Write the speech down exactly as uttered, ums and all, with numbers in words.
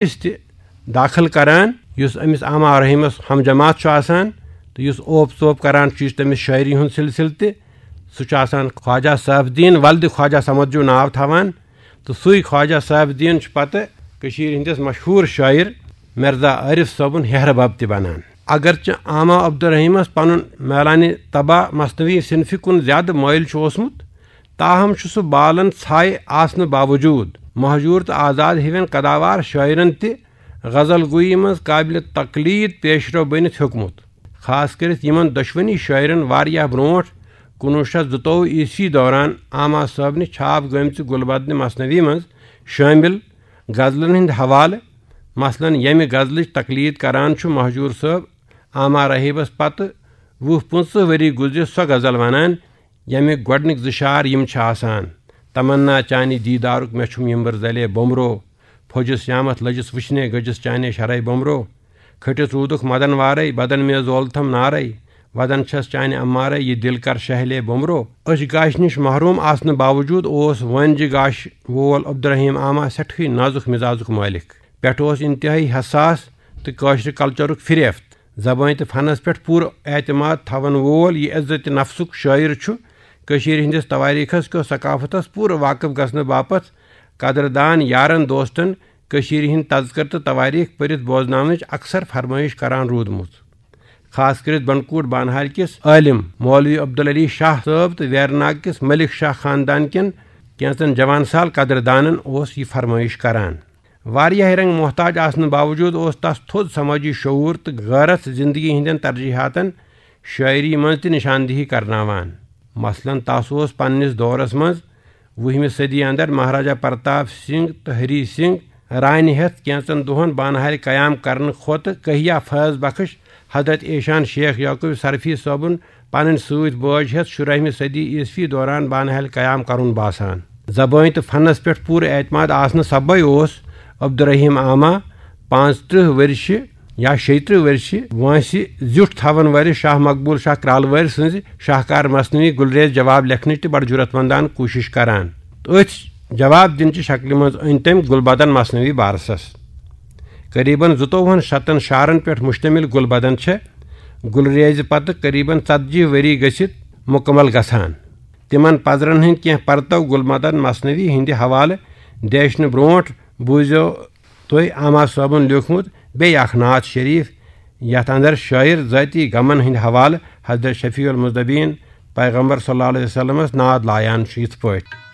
أمِس تہِ داخل کران، یُس أمِس آما رحیٖمس ہم جماعت چھُ آسان، تہٕ یُس اوپ ژوپ کران چھُ، یُس تٔمِس شٲعری ہُنٛد سلسلہٕ تہِ، سُہ چھُ آسان خواجہ صاحب الدین ولدِ خواجہ صمد جو ناو تھاوان۔ تہٕ سُے خواجہ صاحب الدین چھُ پتہٕ کٔشیٖرِ ہٕنٛدِس مشہوٗر شٲعر مرزا عارف صٲبُن ہیہربب تہِ بنان۔ اگرچہ آما عبدالرحیٖمس پنُن میلانِ طبع مثنوی صنفہِ کُن زیادٕ مٲیِل چھُ اوسمُت، تاہم چھُ سُہ بالن ژھاے آسنہٕ باوجوٗد مہجوٗر تہٕ آزاد ہِوٮ۪ن قداوار شٲعرن تہِ غزل گویی منٛز قابلِ تقلید پیشرو بٔنِتھ ہیوٚکمُت۔ خاص کٔرِتھ یِمن دۄشوٕنی شٲعرن واریاہ برونٛٹھ کُنوُہ شیٚتھ زٕتووُہ عیسوی دوران آما صٲبنہِ چھاپ گٔمژِ گُلبدنہِ مثنوی منٛز شٲمِل غزلن ہٕنٛدۍ حوالہٕ، مثلاً ییٚمہِ غزلٕچ تقلید کران چھُ مہجوٗر صٲب آما رحیٖمس پتہٕ وُہ پٕنٛژٕہ ؤری گُزرِتھ سۄ غزل ونان، ییٚمہِ گۄڈٕنِکۍ زٕ شعر یِم چھِ آسان، تمنا چانہِ دیٖدارُک مےٚ چھُم یِمبٕر زلے بومرو، پھوٚجِس یامتھ لٔجِس وٕچھنے گٔجِس چانے شرے بومرو، کھٔٹِس روٗدُکھ مدن وارے بدن مےٚ زولتھم نارے، ودن چھس چانہِ امارے یہِ دِل کر شہلے بومرو۔ أچھ گاشہِ نِش محروم آسنہٕ باوجوٗد اوس وٲنجہِ گاشہِ وول عبدالرحیٖم آما سٮ۪ٹھٕے نازُک مزازُک مٲلِک۔ پٮ۪ٹھٕ اوس انتہٲیی حساس تہٕ کٲشرِ کلچرُک فریفت۔ زبٲنۍ تہٕ فنس پٮ۪ٹھ پوٗرٕ اعتماد تھاون وول یہِ عزت نفسُک شٲعر چھُ کٔشیٖرِ ہٕنٛدِس توٲریٖخس کیو ثقافتس پوٗرٕ واقف گژھنہٕ باپتھ قدردان یارن دوستن کٔشیٖرِ ہٕنٛدۍ تذکرٕ تہٕ توٲریٖخ پٔرِتھ بوزناونٕچ اکثر فرمٲیش کران روٗدمُت۔ خاص کٔرِتھ بنڈپوٗر بانہال کِس عٲلِم مولوی عبدالعلی شاہ صٲب تہٕ ویرناگ کِس ملک شاہ خاندان کٮ۪ن کینٛژن جوان سال قدردانن اوس یہِ فرمٲیش کران۔ واریاہ رنگ محتاج آسنہٕ باوجوٗد اوس تس تھوٚد سمٲجی شعوٗر تہٕ غٲرت زندگی ہٕنٛدٮ۪ن ترجیحاتن شٲعری منٛز تہِ نشاندہی کرناوان۔ مثلاً تس اوس پننِس دورس منٛز وُہمہِ صدی اندر مہاراجا پرتاپ سنگھ تہٕ ہری سنگھ رانہِ ہٮ۪تھ کینٛژن دۄہن بانہالہِ قیام کرنہٕ کھۄتہٕ کہیا فیض بخش حضرت ایشان شیخ یعقوب سرفی صٲبُن پنٕنۍ سۭتۍ بٲج ہٮ۪تھ شُراہمہِ صدی عیسوی دوران بانہالہِ قیام کرُن باسان۔ زبٲنۍ تہٕ فنس پٮ۪ٹھ پوٗرٕ اعتماد آسنہٕ سببے اوس عبدالرحیم آما پانٛژترٕہ ؤرشہِ یا شیٚیہِ ترٕہ ؤرشہِ وٲنٛسہِ زیُٹھ تھاون وٲلِس شاہ مقبول شاہ کرالہٕ وٲرۍ سٕنٛزِ شاہکار مثنوی گُلریز جواب لیکھنٕچ تہِ بڑٕ جُرت مندانہٕ کوٗشش کران۔ تہٕ أتھۍ جواب دِنچہِ شکلہِ منٛز أنۍ تٔمۍ گُلبدن مثنوی بارسس۔ قریباً زٕتووُہن شتن شعرن پٮ۪ٹھ مشتمل گُلبدن چھےٚ گُلریزِ پتہٕ قریباً ژتجی ؤری گٔژھِتھ مکمل گژھان۔ تِمن پزرن ہٕنٛدۍ کینٛہہ پرتو گُلبدن مثنوی ہٕنٛدِ حوالہٕ دیچھنہٕ برونٛٹھ بوٗزِو تُہۍ آما صٲبُن لیوٗکھمُت بیٚیہِ اکھ نعت شریف، یتھ اندر شٲعر ذٲتی غمن ہٕنٛدِ حوالہٕ حضرت شفیع المذنبین پیغمبر صلی اللہ علیہ وسلمس نعت لایان چھُ یِتھ پٲٹھۍ۔